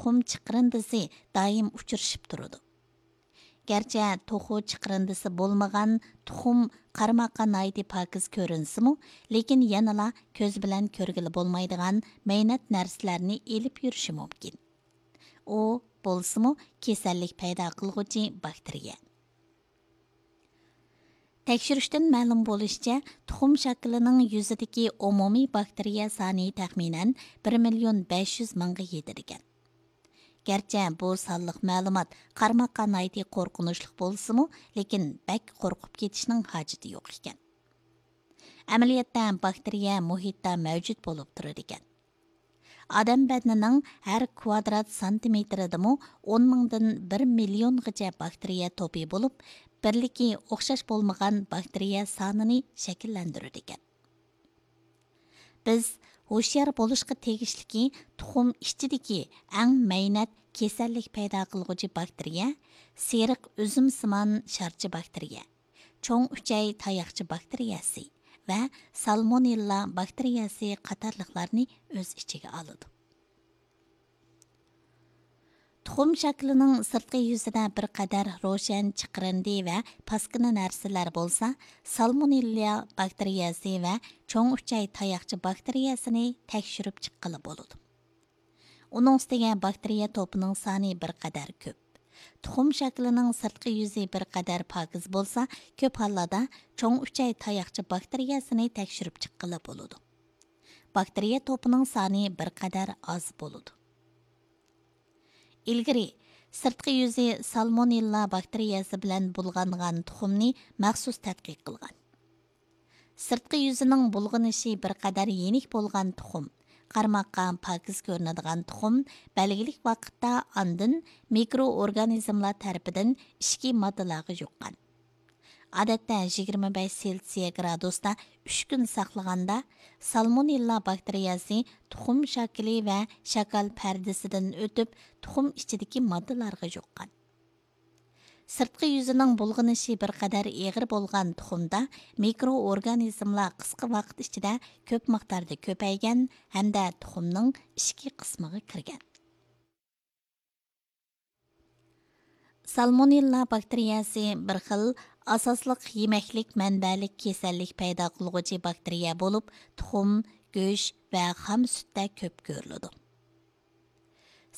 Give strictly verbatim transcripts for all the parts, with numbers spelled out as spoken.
تۇخۇم چىقىرىندىسى دائىم ئۇچرىشىپ تۇرىدۇ. گەرچە توخۇ چىقىرىندىسى بولمىغان تۇخۇم قارىماققا ناھايىتى پاكىز كۆرۈنسىمۇ، لېكىن يەنىلا كۆز بىلەن كۆرگىلى بولمايدىغان مەينەت نەرسىلەرنى ئېلىپ يۈرۈشى مۇمكىن. ئۇ بولسىمۇ كېسەللىك پەيدا قىلغۇچى باكتېرىيە. تەكشۈرۈشتىن مەلۇم بولۇشىچە، تۇخۇم شاكىلىنىڭ يۈزىدىكى ئومۇمىي باكتېرىيە سانى تەخمىنەن بىر مىليون بەش يۈز مىڭغا يېتىدىكەن. گەرچە بۇ سانلىق مەلۇمات قارىماققا ناھايىتى قورقۇنچلۇق بولسىمۇ، لېكىن بەك قورقۇپ كېتىشنىڭ ھاجىتى يوق ئىكەن. ئەمەلىيەتتە باكتېرىيە مۇھىتتا مەۋجۇت بولۇپ تۇرىدىكەن. ئادەم بەدىنىنىڭ ھەر كۋادرات سانتىمېتىرىدىمۇ ئون مىڭدىن بىر مىليونغىچە باكتېرىيە توپى بولۇپ، بىرلىكى ئوخشاش بولمىغان باكتېرىيە سانىنى شەكىللەندۈرىدىكەن. بىز ھوشيار بولۇشقا تېگىشلىكى تۇخۇم ئىچىدىكى ئەڭ مەينەت كېسەللىك پەيدا قىلغۇچى باكتېرىيە، سېرىق ئۈزۈمسىمان شارچە باكتېرىيە، چوڭ ئۈچەي تاياقچە باكتېرىيەسى ۋە سالمونېللا باكتېرىيەسى قاتارلىقلارنى ئۆز ئىچىگە ئالىدۇ. تۇخۇم شاكىلىنىڭ سىرتقى يۈزىدە بىر قەدەر روشەن چىقىرىندى ۋە پاسكىنا نەرسىلەر بولسا، سالمونېللا باكتېرىيەسى ۋە چوڭ ئۈچەي تاياقچە باكتېرىيەسىنى تەكشۈرۈپ چىققىلى بولىدۇ. ئۇنىڭ ئۈستىگە باكتېرىيە توپىنىڭ سانى بىر قەدەر كۆپ. تۇخۇم شاكىلىنىڭ سىرتقى يۈزى بىر قەدەر پاكىز بولسا، كۆپ ھاللاردا چوڭ ئۈچەي تاياقچە باكتېرىيەسىنى تەكشۈرۈپ چىققىلى بولىدۇ. باكتېرىيە توپىنىڭ سانى بىر قەدەر ئاز بولىدۇ. ئىلگىرى سىرتقى يۈزى سالمونېللا باكتېرىيەسى بىلەن بۇلغانغان تۇخۇمنى مەخسۇس تەتقىق قىلغان. سىرتقى يۈزىنىڭ بۇلغىنىشى بىر قەدەر يېنىك بولغان تۇخۇم، قارىماققا پاكىز كۆرۈنىدىغان تۇخۇم بەلگىلىك ۋاقىتتا ئاندىن مىكرو ئورگانىزملار تەرىپىدىن ئىچكى ماددىلارغا يۇققان. ئادەتتە يىگىرمە بەش سېلسىيە گرادۇستا ئۈچ كۈن ساقلىغاندا، سالمونېللا باكتېرىيەسى تۇخۇم شاكىلى ۋە شاكال پەردىسىدىن ئۆتۈپ، تۇخۇم ئىچىدىكى ماددىلارغا يۇققان. سىرتقى يۈزىنىڭ بۇلغىنىشى بىر قەدەر ئېغىر بولغان تۇخۇمدا مىكرو ئورگانىزملار قىسقا ۋاقىت ئىچىدە كۆپ مىقداردا كۆپەيگەن ھەمدە تۇخۇمنىڭ ئىچكى قىسمىغا كىرگەن. سالمونېللا باكتېرىيەسى بىر خىل ئاساسلىق يېمەكلىك مەنبەلىك كېسەللىك پەيدا قىلغۇچى باكتېرىيە بولۇپ، تۇخۇم، گۆش ۋە خام سۈتتە كۆپ كۆرۈلىدۇ.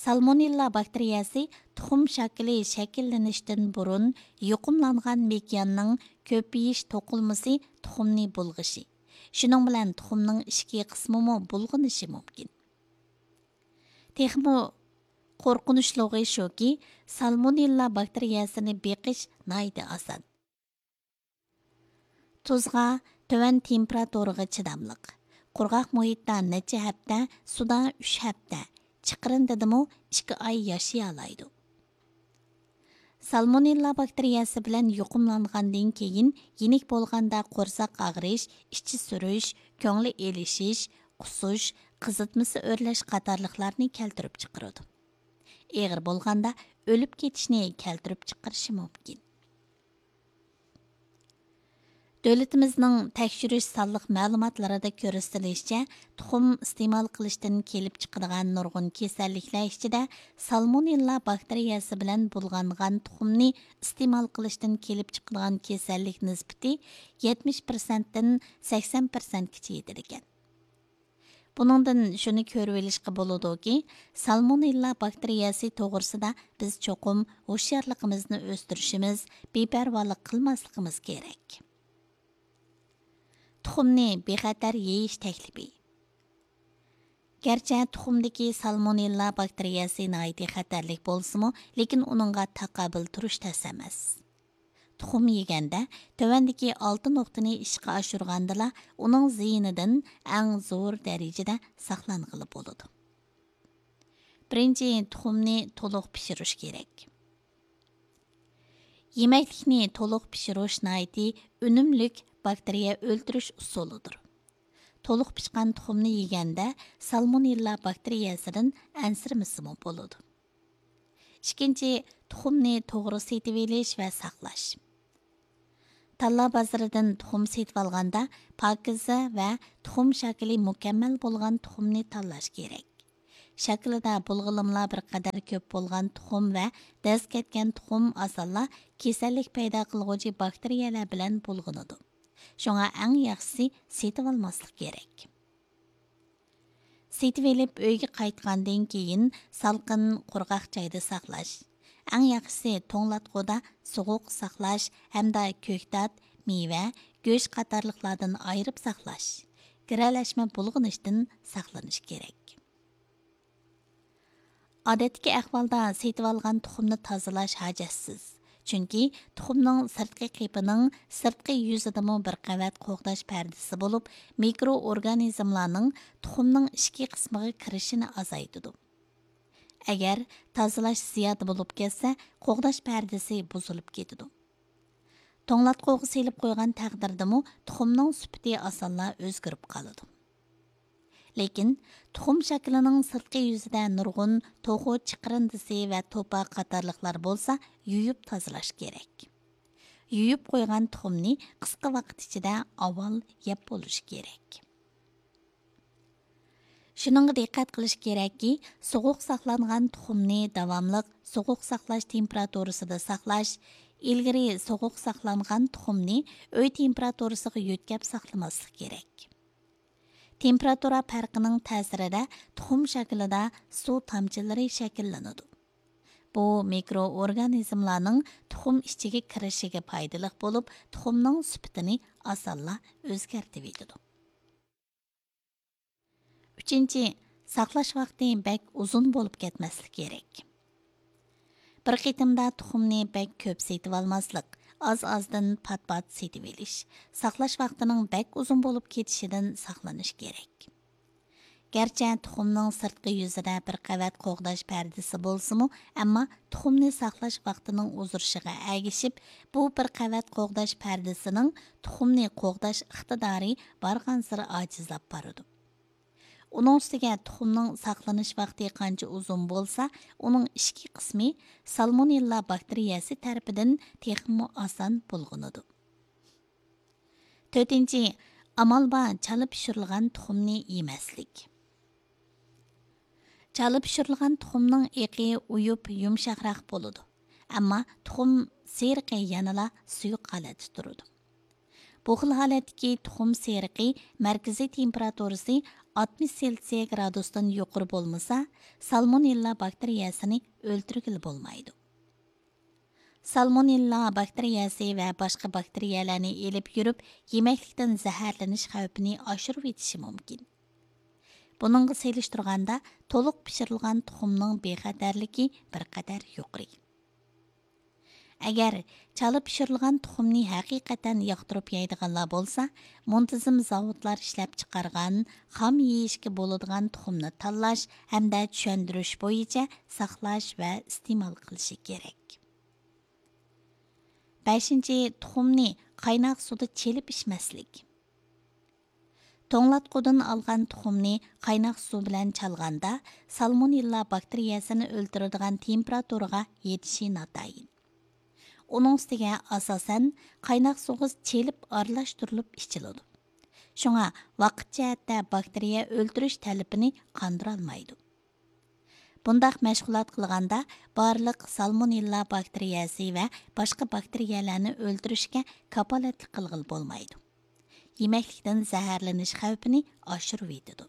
سالمونېللا باكتېرىيەسى تۇخۇم شاكىلى شەكىللىنىشتىن بۇرۇن يۇقۇملانغان مېكىياننىڭ كۆپىيىش توقۇلمىسى تۇخۇمنى بۇلغىشى، شۇنىڭ بىلەن تۇخۇمنىڭ ئىچكى قىسمىمۇ بۇلغىنىشى مۇمكىن. تېخىمۇ قورقۇنچلۇقى شۇكى، سالمونېللا باكتېرىيەسىنى بېقىش ناھايىتى ئاسان. تۇزغا، تۆۋەن تېمپېراتۇرىغا چىداملىق. قۇرغاق مۇھىتتا نەچچە ھەپتە، سۇدا ئۈچ ھەپتە، چىقىرىندىدىمۇ ئىككى ئاي ياشىيالايدۇ. سالمونېللا باكتېرىيەسى بىلەن يۇقۇملانغاندىن كېيىن يېنىك بولغاندا قورساق ئاغرىش، ئىچى سۈرۈش، كۆڭلى ئېلىشىش، قۇسۇش، قىزىتمىسى ئۆرلەش قاتارلىقلارنى كەلتۈرۈپ چىقىرىدۇ. ئېغىر بولغاندا ئۆلۈپ كېتىشنى كەلتۈرۈپ چىقىرىشى مۇمكىن. دۆلىتىمىزنىڭ تەكشۈرۈش سانلىق مەلۇماتلىرىدا كۆرسىتىلىشىچە، تۇخۇم ئىستېمال قىلىشتىن كېلىپ چىقىدىغان نۇرغۇن كېسەللىكلەر ئىچىدە سالمونېللا باكتېرىيەسى بىلەن بۇلغانغان تۇخۇمنى ئىستېمال قىلىشتىن كېلىپ چىقىدىغان كېسەللىك نىسبىتى يەتمىش پىرسەنتتىن سەكسەن پىرسەنتكىچە يېتىدىكەن. بۇنىڭدىن شۇنى كۆرۈۋېلىشقا بولىدۇكى، سالمونېللا باكتېرىيەسى توغرىسىدا بىز چوقۇم ھوشيارلىقىمىزنى ئۆستۈرۈشىمىز، بىپەرۋالىق قىلماسلىقىمىز كېرەك. تۇخۇمنى بىخەتەر يېيىش تەكلىپى. گەرچە تۇخۇمدىكى سالمونېللا باكتېرىيەسى ناھايىتى خەتەرلىك بولسىمۇ، لېكىن ئۇنىڭغا تاقابىل تۇرۇش تەس ئەمەس. تۇخۇم يېگەندە، تۆۋەندىكى ئالتە نۇقتىنى ئىشقا ئاشۇرغاندىلا، ئۇنىڭ زىيىنىدىن ئەڭ زور دەرىجىدە ساقلانغىلى بولىدۇ. بىرىنچى، تۇخۇمنى تولۇق پىشۇرۇش كېرەك. يېمەكلىكنى تولۇق پىشۇرۇش ناھايىتى ئۈنۈملۈك باكتېرىيە ئۆلتۈرۈش ئۇسۇلىدۇر. تولۇق پىشقان تۇخۇمنى يېگەندە، سالمونېللا باكتېرىيەسىدىن ئەنسىرىمىسىمۇ بولىدۇ. ئىككىنچى، تۇخۇمنى توغرا سېتىۋېلىش ۋە ساقلاش. تاللا بازىرىدىن تۇخۇم سېتىۋالغاندا، پاكىزە ۋە تۇخۇم شاكىلى مۇكەممەل بولغان تۇخۇمنى تاللاش كېرەك. شاكىلىدا بۇلغىنىملار بىر قەدەر كۆپ بولغان تۇخۇم ۋە دەز كەتكەن تۇخۇم ئاسانلا كېسەللىك پەيدا قىلغۇچى باكتېرىيەلەر بىلەن بۇلغىنىدۇ. شۇڭا ئەڭ ياخشىسى سېتىۋالماسلىق كېرەك. سېتىۋېلىپ ئۆيگە قايتقاندىن كېيىن سالقىن، قۇرغاق جايدا ساقلاش. ئەڭ ياخشىسى توڭلاتقۇدا سوغۇق ساقلاش ھەمدە كۆكتات، مېۋە، گۆش قاتارلىقلاردىن ئايرىپ ساقلاش. گىرەلەشمە بۇلغىنىشتىن ساقلىنىش كېرەك. ئادەتتىكى ئەھۋالدا سېتىۋالغان تۇخۇمنى تازىلاش ھاجەتسىز. چۈنكى تۇخۇمنىڭ سىرتقى قېپىنىڭ سىرتقى يۈزىدىمۇ بىر قەۋەت قوغداش پەردىسى بولۇپ، مىكرو ئورگانىزملارنىڭ تۇخۇمنىڭ ئىچكى قىسمىغا كىرىشىنى ئازايتىدۇ. ئەگەر تازىلاش زىيادە بولۇپ كەتسە، قوغداش پەردىسى بۇزۇلۇپ كېتىدۇ. توڭلاتقۇغا سېلىپ قويغان تەقدىردىمۇ تۇخۇمنىڭ سۈپىتى ئاسانلا ئۆزگىرىپ قالىدۇ. لېكىن تۇخۇم شاكىلىنىڭ سىرتقى يۈزىدە نۇرغۇن توخۇ چىقىرىندىسى ۋە توپا قاتارلىقلار بولسا، يۇيۇپ تازىلاش كېرەك. يۇيۇپ قويغان تۇخۇمنى قىسقا ۋاقىت ئىچىدە ئاۋۋال يەپ بولۇش كېرەك. شۇنىڭغا دىققەت قىلىش كېرەككى، سوغۇق ساقلانغان تۇخۇمنى داۋاملىق سوغۇق ساقلاش تېمپېراتۇرىسىدا ساقلاش، ئىلگىرى سوغۇق ساقلانغان تۇخۇمنى ئۆي تېمپېراتۇرىسىغا يۆتكەپ ساقلىماسلىق كېرەك. تېمپېراتۇرا پەرقىنىڭ تەسىرىدە تۇخۇم شاكىلىدا سۇ تامچىلىرى شەكىللىنىدۇ. بۇ مىكرو ئورگانىزملارنىڭ تۇخۇم ئىچىگە كىرىشىگە پايدىلىق بولۇپ، تۇخۇمنىڭ سۈپىتىنى ئاسانلا ئۆزگەرتىۋېتىدۇ. ئۈچىنچى، ساقلاش ۋاقتى بەك ئۇزۇن بولۇپ كەتمەسلىكى كېرەك. بىر قېتىمدا تۇخۇمنى بەك كۆپ سېتىۋالماسلىق، ئاز-ئازدىن پات-پات سېتىۋېلىش، ساقلاش ۋاقتىنىڭ بەك ئۇزۇن بولۇپ كېتىشىدىن ساقلىنىش كېرەك. گەرچە تۇخۇمنىڭ سىرتقى يۈزىدە بىر قەۋەت قوغداش پەردىسى بولسىمۇ، ئەمما تۇخۇمنى ساقلاش ۋاقتىنىڭ ئۇزىرىشىغا ئەگىشىپ، بۇ بىر قەۋەت قوغداش پەردىسىنىڭ تۇخۇمنى قوغداش ئىقتىدارى بارغانسېرى ئاجىزلاپ بارىدۇ. ئۇنىڭ ئۈستىگە تۇخۇمنىڭ ساقلىنىش ۋاقتى قانچە ئۇزۇن بولسا، ئۇنىڭ ئىچكى قىسمى سالمونېللا باكتېرىيەسى تەرىپىدىن تېخىمۇ ئاسان بۇلغىنىدۇ. تۆتىنچى، ئامال بار چالا پىشۇرۇلغان تۇخۇمنى يېمەسلىك. چالا پىشۇرۇلغان تۇخۇمنىڭ ئېقى ئۇيۇپ يۇمشاقراق بولىدۇ، ئەمما تۇخۇم سېرىقى يەنىلا سۇيۇق ھالەتتە تۇرىدۇ. بۇ خىل ھالەتتىكى تۇخۇم سېرىقى مەركىزىي تېمپېراتۇرىسى ئاتمىش سېلسىيە گرادۇستىن يۇقىرى بولمىسا، سالمونېللا باكتېرىيەسىنى ئۆلتۈرگىلى بولمايدۇ. سالمونېللا باكتېرىيەسى ۋە باشقا باكتېرىيەلەرنى ئېلىپ يۈرۈپ، يېمەكلىكتىن زەھەرلىنىش خەۋپىنى ئاشۇرۇۋېتىشى مۇمكىن. بۇنىڭغا سېلىشتۇرغاندا، تولۇق پىشۇرۇلغان تۇخۇمنىڭ بىخەتەرلىكى بىر قەدەر يۇقىرى. ئەگەر چالا پىشۇرۇلغان تۇخۇمنى ھەقىقەتەن ياقتۇرۇپ يەيدىغانلار بولسا، مۇنتىزىم زاۋۇتلار ئىشلەپچىقارغان، خام يېيىشكە بولىدىغان تۇخۇمنى تاللاش ھەمدە چۈشەندۈرۈش بويىچە ساقلاش ۋە ئىستېمال قىلىشى كېرەك. بەشىنچى، تۇخۇمنى قايناق سۇدا چېلىپ ئىچمەسلىك. توڭلاتقۇدىن ئالغان تۇخۇمنى قايناق سۇ بىلەن چالغاندا، سالمونېللا باكتېرىيەسىنى ئۆلتۈرىدىغان تېمپېراتۇرىغا يېتىشى ناتايىن. ئۇنىڭ ئۈستىگە ئاساسەن قايناق سۇغا چېلىپ ئارىلاشتۇرۇلۇپ ئىچىلىدۇ. شۇڭا ۋاقىت جەھەتتە باكتېرىيە ئۆلتۈرۈش تەلىپىنى قاندۇرالمايدۇ. بۇنداق مەشغۇلات قىلغاندا بارلىق سالمونېللا باكتېرىيەسى ۋە باشقا باكتېرىيەلەرنى ئۆلتۈرۈشكە كاپالەتلىك قىلغىلى بولمايدۇ. يېمەكلىكتىن زەھەرلىنىش خەۋپىنى ئاشۇرۇۋېتىدۇ.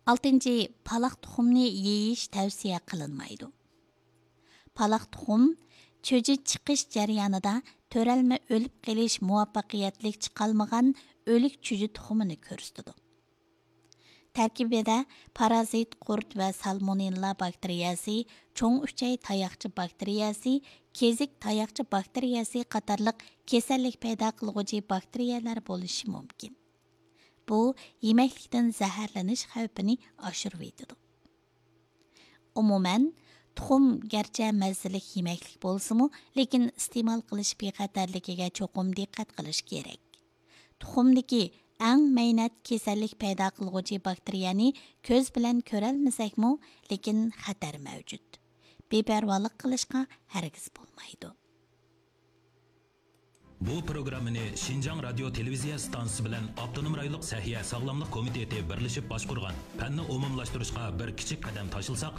ئالتىنچى، پالاق تۇخۇمنى يېيىش تەۋسىيە قىلىنمايدۇ. پالاق تۇخۇم چۈجە چىقىش جەريانىدا تۆرەلمە ئۆلۈپ قېلىش مۇۋەپپەقىيەتلىك چىقالمىغان ئۆلۈك چۈجە تۇخۇمىنى كۆرسىتىدۇ. تەركىبىدە پارازىت قۇرت ۋە سالمونېللا باكتېرىيەسى، چوڭ ئۈچەي تاياقچە باكتېرىيەسى، كېزىك تاياقچە باكتېرىيەسى قاتارلىق كېسەللىك پەيدا قىلغۇچى باكتېرىيەلەر بولۇشى مۇمكىن. بۇ يېمەكلىكتىن زەھەرلىنىش خەۋپىنى ئاشۇرۇۋېتىدۇ. ئومۇمەن، تۇخۇم گەرچە مەززىلىك يېمەكلىك بولسىمۇ، لېكىن ئىستېمال قىلىش بىخەتەرلىكىگە چوقۇم دىققەت قىلىش كېرەك. تۇخۇمدىكى ئەڭ مەينەت كېسەللىك پەيدا قىلغۇچى باكتېرىيەنى كۆز بىلەن كۆرەلمىسەكمۇ، لېكىن خەتەر مەۋجۇت. بىپەرۋالىق قىلىشقا ھەرگىز بولمايدۇ. بۇ پروگراممىنى شىنجاڭ رادىيو تېلېۋىزىيە ئىستانسىسى بىلەن ئاپتونوم رايونلۇق سەھىيە ساغلاملىق كومىتېتى بىرلىشىپ باشقۇرغان. پەننى ئومۇملاشتۇرۇشقا بىر كىچىك قەدەم تاشلىساق،